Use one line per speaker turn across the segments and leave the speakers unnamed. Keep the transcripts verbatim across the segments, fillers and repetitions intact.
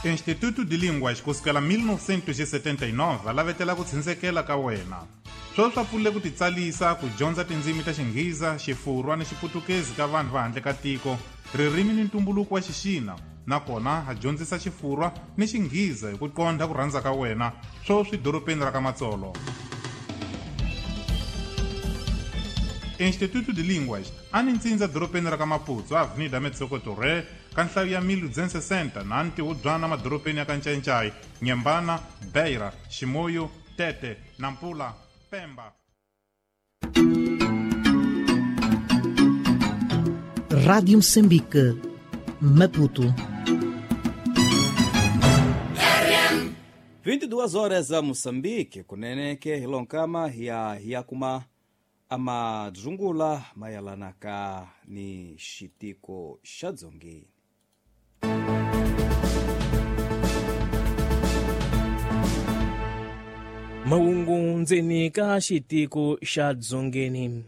Instituto de Línguas kusukela mil novecentos e setenta e nove lavetela ku tshunsekela ka wena. Sweswi swa pfule ku titsalisa ku dyondza tindzimi ta Xinghiza, Xifurwa ni Xiputukezi ka vanhu va handle ka tiko, ririmi ni ntumbuluko wa Xixina, nakona ha dyondzisa Xifurwa ni Xinghiza hi ku qondha ku rhandza ka wena, sweswi dorobeni ra ka Matsolo. Instituto de Línguas a ni ntsindza dorobeni ra ka Maputo, Avenida Metsoko Torre, ka nhlayo ya mil duzentos e sessenta na ntihubyana madorobeni ya ka Ncancai, Nyembana, Beira, Chimoio, Tete, Nampula, Pemba.
Rádio Moçambique, Maputo.
vinte e duas horas a Moçambique, kuneneke hilonkama ya yakuma amadzungula mayalanaka ni xitiko xa dzongeni.
Mahungu ndzeni ka xitiko xa dzongeni.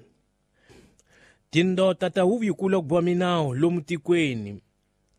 Tindota ta huvo yikulu ku boha minawu lomu tikweni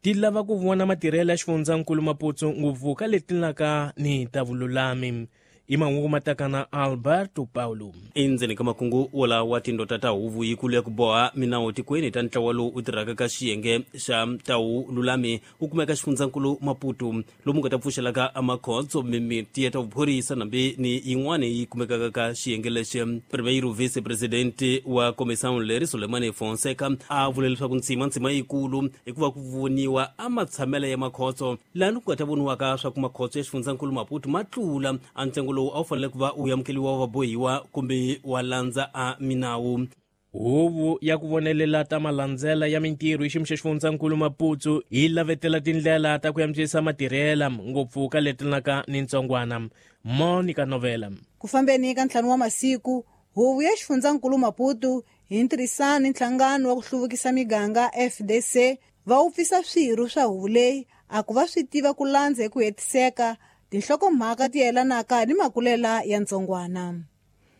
ti lava ku vona matirhelo ya xifundzankulu Maputo ngopfu ka leti laka ni ta vululami. I mahungu mataka na Alberto Paulo.
Endzeni ka makungu wolawa tindota ta huvo yikulu ya ku boha minawu tikweni ta ntlawa lowu u tirhaka ka xiyenge xa ta vululami wu kumeka xifundzankulu Maputo lomu nga ta pfuxelaka amakhotso mimiti ya ta vuphorisa nambi ni yin'wana yi kumekaka ka xiyenge lexi. Primeiro vice-presidente wa comissão leri Sulemani Fonseca a vule leswaku ntsima ntsima yikulu hikuva ku voniwa amatshamelo ya makhotso lani ku nga ta voniwaka swa ku makhotso ya xifundzankulu Maputo ma tlula a ntsengo lowu a wu fanele ku va u amukeliwa wa bohiwa kumbe wa landza a minawu.
Huvo ya ku vonelela ta malandzela ya mintirho hi xiyimo xa xifundzankulu Maputo yi lavetela tindlela ta ku antswisa matirhela ngopfu ka leti laka ni ntsongwana. Monica Novela.
Ku fambeni ka ntlhanu wa masiku, huvo ya xifundzankulu Maputo hi ntirhisano ni nhlangano wa ku hluvukisa miganga F D C va wupfisa swirho swa huvo leyi a ku va swi tiva ku landza hi ku hetiseka tinhlokomhaka ti yelanaka ni makulela ya ntsongwana.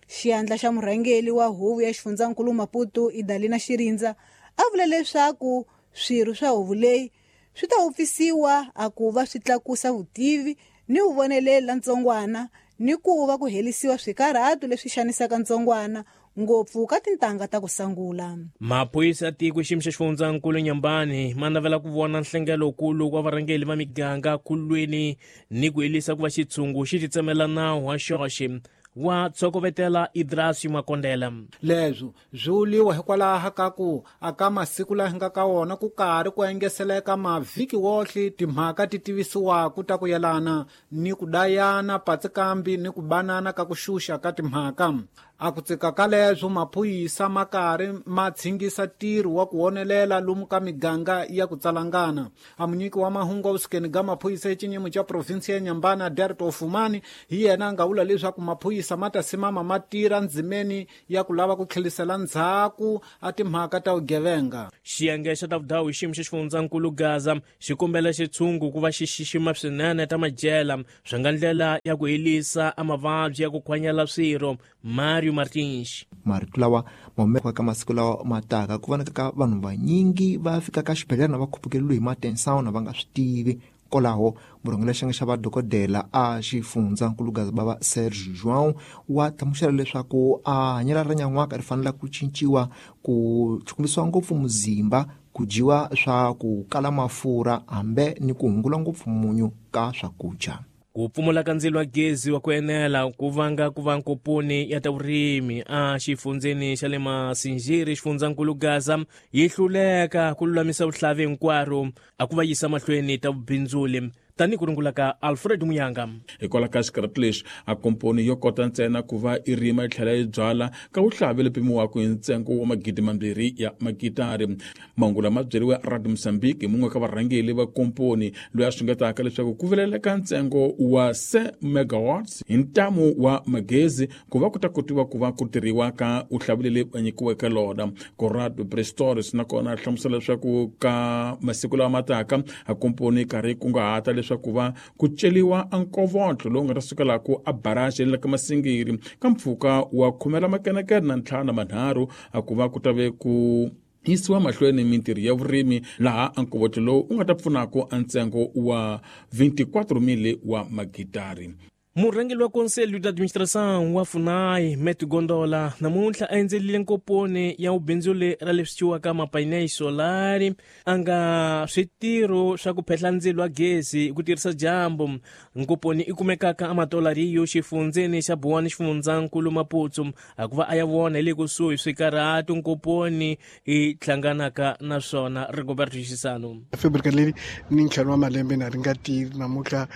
Xiyandla xa murhangeri wa huvo ya xifundzankulu Maputo Idalina Xirindza a vula leswaku swirho swa huvo leyi swi ta wupfisiwa a ku va swi tlakusa vutivi ni vuvoneleri la ntsongwana ni ku va ku helisiwa swikarhato leswi xanisaka ntsongwana ngopfu ka tintangha ta ku sangula.
Maphorisa ya tiko xiyimo xa xifundzankulu Nyambani ma navela ku vona nhlengelokulu wa varhangeri va miganga kulweni ni ku helisa ku va xitshungu xi titsemela nawu wa xoxe wa tshokovetela Idrasi Makondela.
Leswo swi vuliwa hikwalaho ka ku aka masiku laha nga ka wona ku karhi ku engeseleka mavhiki wohle timhaka ti tivisiwaku ta ku yelana ni ku dayana patsikambi ni ku banana ka ku xuxa ka timhaka. A ku tsika ka leswo maphorisa ma karhi ma tshingisa ntirho wa ku wonelela lomu ka miganga ya ku tsalangana. A munyiki wa mahungu wa vusukeni ga maphorisa exinyimo xa provinsi ya Nyambana Derto Fumani hi yena a nga vula leswaku maphorisa ma ta simama ma tirha ndzimeni ya ku lava ku tlhelisela ndzhaku a timhaka ta vugevenga.
Xiyenge xa ta vudawu hi xiyimo xa xifundzankulu Gaza xi kombela xitshungu ku va xi xixima swinene ta majela swi nga ndlela ya ku helisa a mavabyi ya ku khwanyela swirho. Mario Martins.
Marito lawa ma humeka ka masiku lawa ma taka ku vonaka ka vanhu vanyingi va fika ka xibedhlele na va khupukeliwe hi matensão na va nga swi tivi. Kwalaho murhangeri xiyenge xa vadokodela a xifundzankulu Gaza bava Serge João wa hlamusela leswaku a hanyelo ra nyan'waka ri fanele ku cinciwa ku chukumisiwa ngopfu muzimba, ku dyiwa swa ku kala mafurha hambe ni ku hungula ngopfu munyu ka swakudya.
Ku pfumala ka ndzilo wa gezi wa ku enela ku vanga ku va nkoponi ya ta vurimi a xifundzeni xa le Masinjiri xifundzankulu Gaza yi hluleka ku lulamisa vuhlavi hinkwaro a ku va yisa mahlweni ta vubindzuli tanihi ku rungula ka Alfred Muyanga.
Hikwalaho ka xikarhati lexi a komponi yo kota ntsena ku va i rima yi tlhela yi byala ka vuhlavi lebyi pimiwaka hi ntsengo wa magidi mambirhi ya makitari. Mahungu lama byeriwe Radio Mozambique hi mun'we ka varhangeri va komponi loyi a xungetaka leswaku ku vileleka ntsengo wa se megawatts hi ntamu wa magezi ku va ku ta kotiwa ku va ku tirhiwa ka vuhlavi leri va nyikiweke lona. Corrado Prestoris nakona a hlamusela leswaku ka masiku lawa ma taka a komponi karhi kunguhata leswaku va ku celiwa a nkovotlo lowu nga ta sukelaku a barrage le ka Masingiri ka mpfhuka wa khume ra makenekene na ntlhanu na manharhu a ku va ku ta ve ku Yisiwa mahlweni mintirho ya vurimi laha ankovotlo lowu u nga ta pfunaka a ntsengo wa twenty-four mil wa magitari.
Murhangeri wa Conselho de Administração wa FUNAI, Met Gondola, namuntlha a endzelile nkoponi ya vubindzuli ra leswi ciwaka mapainéis solari a nga switirho swa ku phehla ndzilo wa gezi hi ku tirhisa dyambu. Nkoponi i kumekaka eMatolariyo xifundzeni xa Buwani xifundzankulu Maputo, hikuva a ya vona hi le kusuhi swikarhatu nkoponi i hlanganaka na swona. Rigoberto Xisano.
Fábrica leyi ni ntlhanu wa malembe na ri nga tirhi namuntlha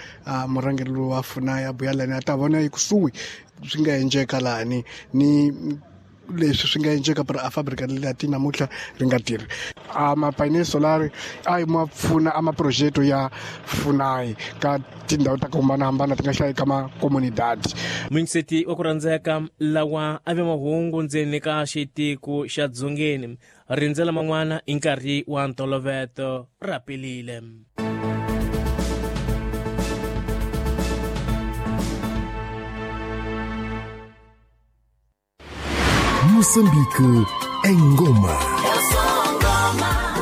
murhangeri wa FUNAI ya lani a ta vona ekusuhi swi nga endleka lani ni leswi swi nga endleka para a fábrica leyi ti namuntlha ri nga tirhi. A mapainéis solar a yi ma pfuna a maprojeto ya FUNAI ka tindhawu ta ku hambanahambana ti nga hlaya ka makomunidadi.
Munyiseti wa ku rhandzeka lawa a ve mahungu ndzeni ka xitiko xa Dzongeni, rindzela man'wana hi nkarhi wa ntoloveto ra pelile.
Moçambique em Goma.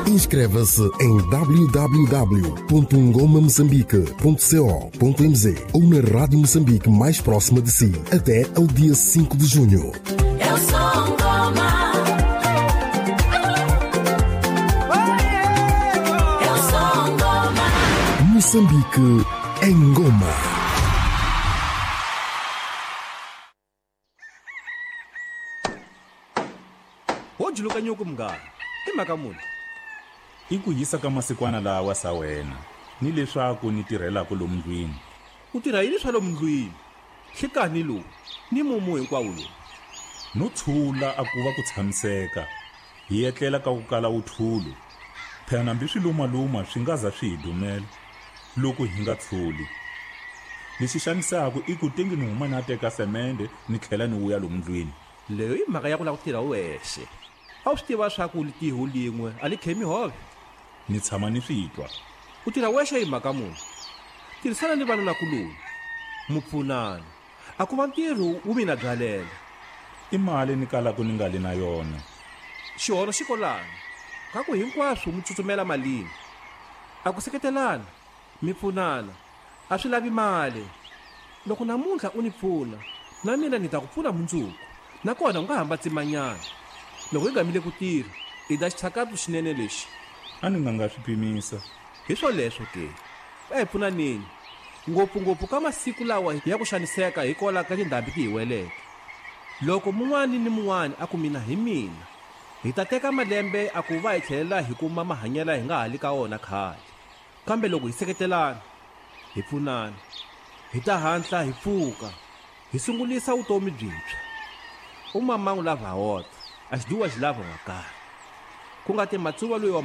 Inscreva-se em w w w ponto ngoma moçambique ponto co ponto m z ou na Rádio Moçambique mais próxima de si até ao dia cinco de junho.
Eu sou Ngoma. Eu sou Ngoma.
Moçambique em Goma.
Juluka nyuku mngani i mhaka muni
i ku yisa ka masikwana lawa sa wena ni leswaku ni tirhelaka lomu ndlwini.
U tirha yini swa lomu ndlwini? Hlekani lowu ni mumu hinkwawo lowu
no tshula a ku va ku tshamiseka hi etlela ka ku kala wuthulu phela hambi swi lumaluma swi nga za swi hi dumela loko hi nga tshuli. Lexi xanisaka i ku tengi ni huma na teka semende ni tlhela ni vuya lomu ndlwini.
Leyo i mhaka ya ku lava ku tirha wexe. A wu swi tiva swa ku litiho lin'we a li khemi hove.
Ni tshama ni swi twa.
U tirha wexe hi mhaka muni? Tirhisana ni vanhu lakuloni mu pfunana a ku va ntirho wu mina byalela.
I mali ni kalaka ni nga li na yona.
Xihono xi kolani ka ku hinkwaswo mi tsutsumela malini. A ku seketelana mi pfunana a swi lavi mali. Loko namuntlha u ni pfuna na mina ni ta ku pfuna mundzuku, nakona u nga hamba tsimanyana. Loko hi gamile ku tirha i da xitshakatu xinene lexi.
A ni nga nga swi pimisa.
Hi swoleswo ke a hi pfunaneni ngopfungopfu ka masiku lawa ya ku xaniseka hikwalaho ka tindhambi ti hi weleke. Loko mun'wani ni mun'wani a ku mina hi mina, hi ta teka malembe a ku va hi tlhelela hi kuma mahanyelo hi nga ha li ka wona khale. Kambe loko hi seketelana hi pfunana hi ta hatla hi pfuka hi sungulisa vutomi byintshwa. Umamangu lava wota a xi dyiwa xi lava wa kaya ku nga ti matsuva loyi wa